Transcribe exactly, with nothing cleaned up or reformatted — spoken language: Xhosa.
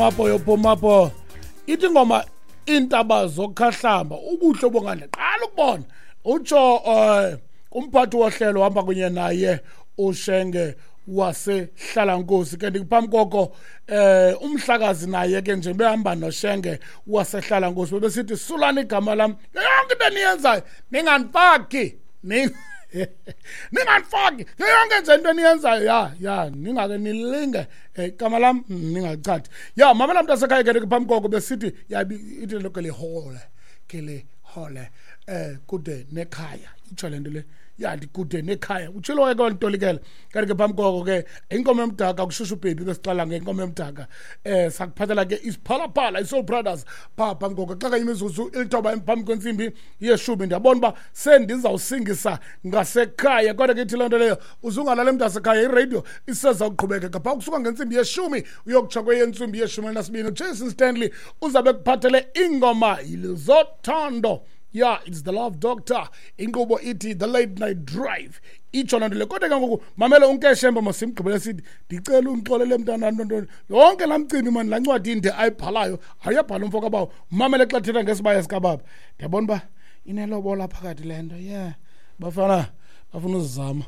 Apho yophuma apho ithi ingoma iintaba zokhahlamba ubuhle obungandle qala ukubona utsho um umphathi wohlelo uhamba kunye naye uShenge wasehlalankosi. Ke ndikuphambi koko eh umhlakazi naye ke nje behamba noShenge wasehlalankosi bebesithi sulani igama lam yonke into eniyenzayo ningandifaki ningandifaki yonke nje into eniyenzayo ya ya ningake nilinge igama lam ningachathi ya mamela mntasekhaya ke phambi koko besithi yabi ithi lo ke lihole ke lihole eh kude nekhaya itsho le nto le ya ndikude nekhaya utshilo ke wantolikela kanti ke phambi koko ke inkomo yomdaka kushushu baby ke siqala ngenkomo yomdaka eh sakuphathela ke isiphalaphala iSoul Brothers pha phambi koko xa kanye imizuzu ilithoba phambi kwentsimbi yeshumi ndiyabona uba sendizawusingisa ngasekhaya kodwa ke ithi loo nto leyo uzungalale mntasekhaya iradio isezawuqhubekeka phaa kusuka ngentsimbi yeshumi uyokutsha kweyentsimbi yeshumi elinasibini uJason Stanley uzabe kuphathele ingoma zothando. Yeah, it's the Love Doctor. Inkqubo ithi The Late Night Drive. Itsho loo nto le. Kodwa ke ngoku mamela uNkeshemba masimgqibele sithi ndicela undixolele mntana ntontoni. Yonke laa mcimbi mani laa ncwadi inde ayibhalayo ayabhala umfo kabawo. Mamele xa thetha ngesibaya sikababa. Ndiyabona uba inelobola phakathi le nto. Yeah. Bafana bafuna uzizama.